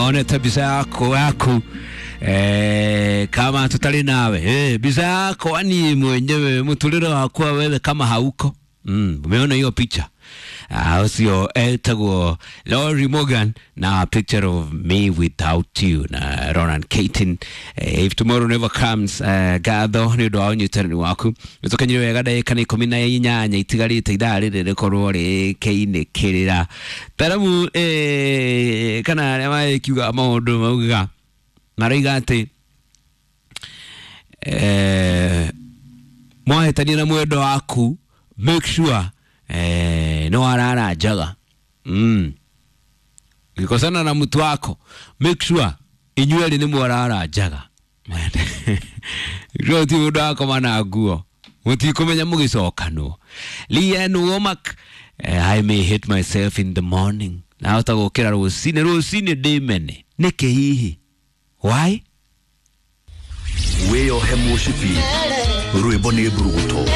Onete mbica yaku kama tutari nawe, mbica yakwa niĩ mwenyewe mũtũrĩre wakwa wewe kama hauko. Umeona hiyo picha? Ucio etagwo Lori Morgan na "Picture of Me Without You" na Ronan Keating, "If Tomorrow Never Comes". Ngatho nĩ ũndũ wa ũnyitanĩri waku. Nĩtũkenyire wega, ndagĩka nĩ 18 itigarĩte ithaa rĩrĩ rĩkorwo rĩkĩinĩkĩrĩra taramu, kana arĩa magĩkiuga maũndũ maugaga maroiga atĩ mwahĩtania na mwendo waku, make sure nĩ warara njaga. Ukikosana na mtu wako, make sure inyuerĩ nĩ mwarara njaga. Ti mũndũ akoma na nguo, mũtikũmenya mũgĩcokanwo. Lee Ann Womack, "I May Hate Myself in the Morning". Nahota gũkĩra rũcinĩ rũcinĩ ndĩmene nĩkĩ hihi? Why? Wĩyohe mũcibi, rwĩmbo nĩ mburuguto.